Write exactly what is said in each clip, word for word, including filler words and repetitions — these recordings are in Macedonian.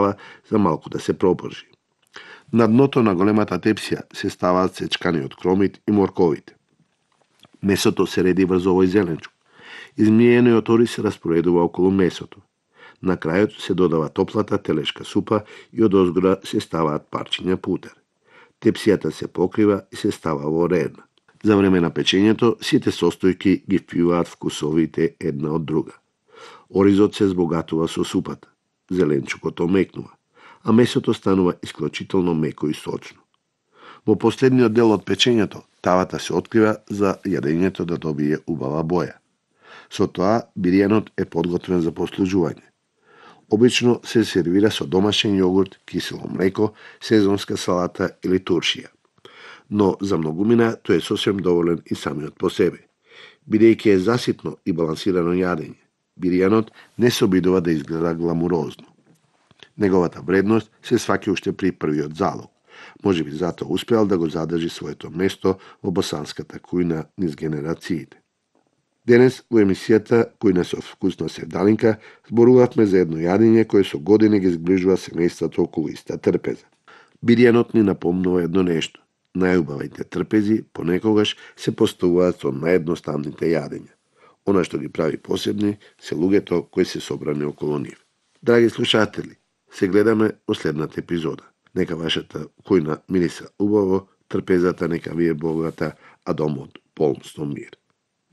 остава за малку да се пропржи. На дното на големата тепсија се ставаат сечканиот кромит и морковите. Месото се реди врз овој зеленчук. Измиениот ориз се распоредува околу месото. На крајот се додава топлата телешка супа и од озгора се ставаат парчиња путер. Тепсијата се покрива и се става во редна. За време на печењето сите состојки ги впиваат вкусовите една од друга. Оризот се збогатува со супата, зеленчукот омекнува, а месото станува исклучително меко и сочно. Во последниот дел од печењето, тавата се открива за јадењето да добие убава боја. Со тоа, биријанот е подготвен за послужување. Обично се сервира со домашен јогурт, кисело млеко, сезонска салата или туршија. Но за многумина тој е сосем доволен и самиот по себе. Бидејќи е заситно и балансирано јадење, биријанот не се обидува да изгледа гламурозно. Неговата вредност се сваќа уште при првиот залог. Може би затоа успеал да го задржи своето место во босанската кујна низ генерациите. Денес во емисијата Кујна со вкусна севдалинка зборувавме за едно јадење кое со години ги згрижува семејството околу иста трпеза. Биријанот ни напомнува едно нешто. Најубавите трпези понекогаш се поставуваат со наједноставните јадења. Она што ги прави посебни се луѓето кои се собрани околу нив. Драги слушатели, се гледаме во следната епизода. Нека вашата кујна мириса убаво, трпезата нека ви е богата, а домот полн со мир.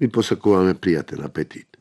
Ви посакуваме пријатен апетит.